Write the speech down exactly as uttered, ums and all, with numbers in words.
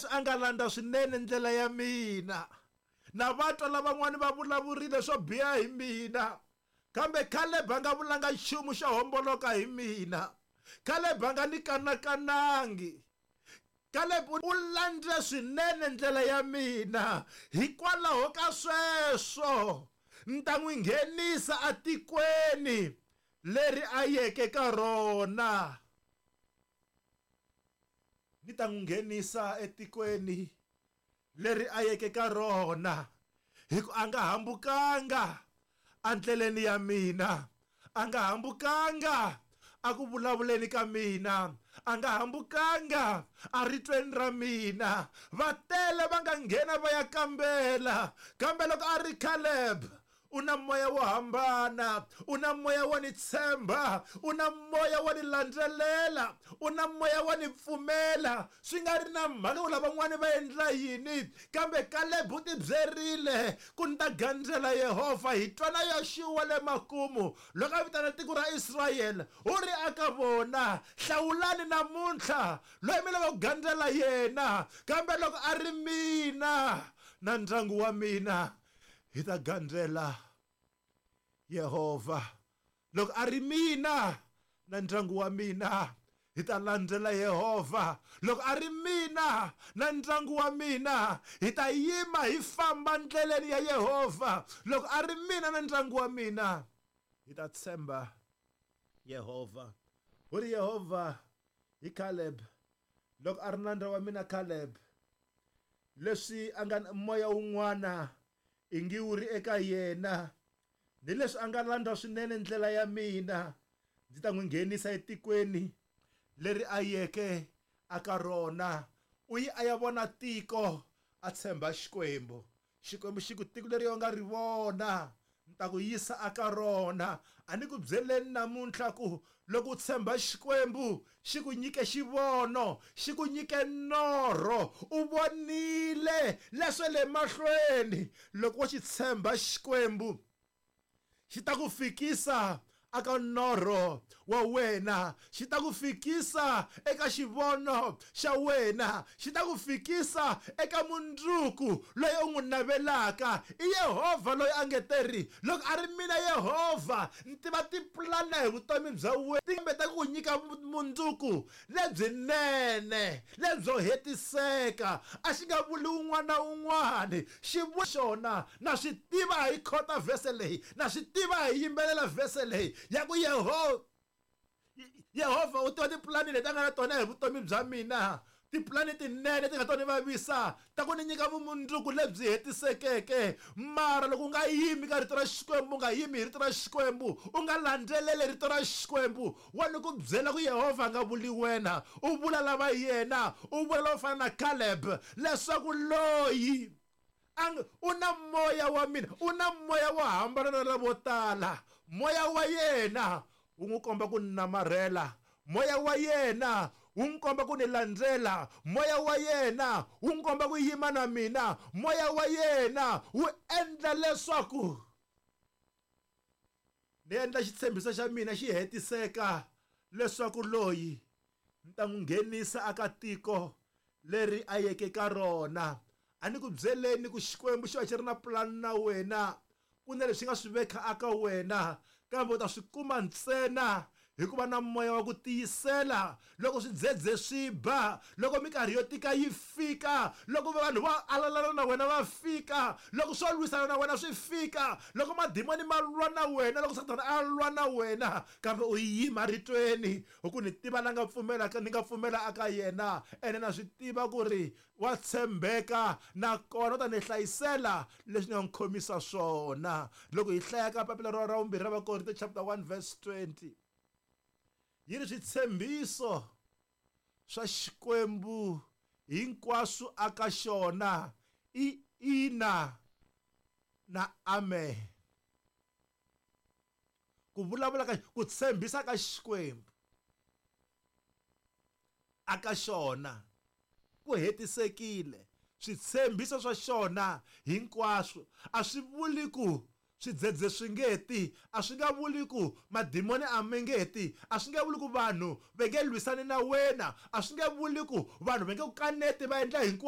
Leswi a nga landza swinene ndlela ya mina, na vatwa lavan'wani va vulavurile swo biha hi mina, kambe Caleb a nga vulanga nchumu xo homboloka hi mina. Caleb a nga ni kanakanangi. Caleb u landze swinene ndlela ya mina. Hikwalaho ka sweswo ni ta n'wi nghenisa atikweni leri a yeke ka rona. Ni ta n'wi nghenisa etikweni leri a yeke ka rona, hi ku a nga hambukanga endleleni ya mina, a nga hambukanga a ku vulavuleni ka mina, a nga hambukanga eritweni ra mina. Va tele va nga nghena va ya kambela, kambe loko a ri Caleb u na moya wo hambana, u na moya wo ni tshemba, u na moya wo ni landzelela, u na moya wo ni pfumela. Swi nga ri na mhaka ku lavan'wani va endla yini, kambe Caleb u tibyerile ku ni ta gandzela Yehovha. Hi twana Yoxuwa le makumu loko a vitana tiko ra Israyele, u ri aka vona, hlawulani namuntlha loyi mi lava ku gandzela yena, kambe loko a ri mina na ndyangu wa mina hi ta gandzela Yehovha. Loko a ri mina na ndyangu wa mina hi ta landzela Yehovha. Loko a ri mina na ndyangu wa mina hi ta yima hi famba ndleleni ya Yehovha. Loko a ri mina na ndyangu wa mina hi ta tshemba Yehovha. U ri Yehovha hi Caleb, loko a ri nandza wa mina Caleb, leswi a nga moya wun'wana ingi wu ri eka yena, ni leswi a nga landza swinene ndlela ya mina, ndzi ta n'wi nghenisa etikweni leri a yeke aka rona. U yi a ya vona tiko, a tshemba Xikwembu. Xikwembu xi ku tiko leri u nga ri vona ni ta ku yisa aka rona. A ni ku byeleni namuntlha ku loko u tshemba Xikwembu, xi ku nyike xivono, xi ku nyike norho, u vonile leswe le mahlweni. Loko wo xi tshemba Xikwembu, xi ta ku fikisa aka norho wa wena, xi ta ku fikisa eka xivono xa wena, xi ta ku fikisa eka mundzuku loyi u n'wi navelaka. I Yehovha loyi a nge teri, loko a ri mina Yehovha ni tiva tipulani hi vutomi bya wena, timbe ta ku nyika mundzuku lebyinene lebyo hetiseka. A xi nga vuli un'wana na un'wana, xi vula xona. Na swi tiva hi khota vhese leyi, na swi tiva hi yimbelela vhese leyi ya ku Yehovha Yehovha u tiva tipulani leti a nga na tona hi vutomi bya mina, tipulani tinene ti nga to ni vavisa, ta ku ni nyika vumundzuku lebyi hetisekeke. Mara loko u nga yimi ka rito ra Xikwembu, u nga yimi hi rito ra Xikwembu, u nga landzeleli rito ra Xikwembu, wa ni ku byela ku Yehovha a nga vuli wena, u vula lava yena, u vula lava fana na Caleb, leswaku loyi u na moya wa mina, u na moya wo hambana na lavo tala. Moya wa yena wu n'wi komba ku namarhela, moya wa yena wu n'wi komba ku ni landzela, moya wa yena wu n'wi komba ku yima na mina, moya wa yena wu endla leswaku ni endla xitshembiso xa mina xi hetiseka, leswaku loyi ni ta n'wi nghenisa aka tiko leri a yeke ka rona. A ni ku byeleni ku Xikwembu xi va xi ri na pulani na wena, ku na leswi nga swi veka aka wena, kambe u ta swi kuma ntsena hikuva na moya wa ku tiyisela. Loko swidzedze swi ba, loko minkarhi yo tika yi fika, loko vanhu va alalana na wena va fika, loko swo lwisana na wena swi fika, loko madimoni ma lwa na wena, loko Sathana a lwa na wena, kambe u yima ritweni, hi ku ni tiva la nga pfumelaka, ni nga pfumela aka yena, ene na swi tiva ku ri wa tshembeka, nakona u ta ni hlayisela leswi ni nga n'wi khomisa swona. Loko hi hlaya ka papila ra ra vumbirhi ra Vakorinto chapter one verse twenty, yi ri switshembiso swa Xikwembu hinkwaswo aka xona i ina na amen. Ku vulavula ka ku tshembisa ka Xikwembu aka xona ku hetisekile. Switshembiso swa xona hinkwaswo a swi vuli ku swidzedze swi nge ti, a swi nga vuli ku madimoni a mi nge ti, a swi nge vuli ku vanhu va nge lwisani na wena, a swi nge vuli ku vanhu va nge ku kaneti va endla hinkwaswo.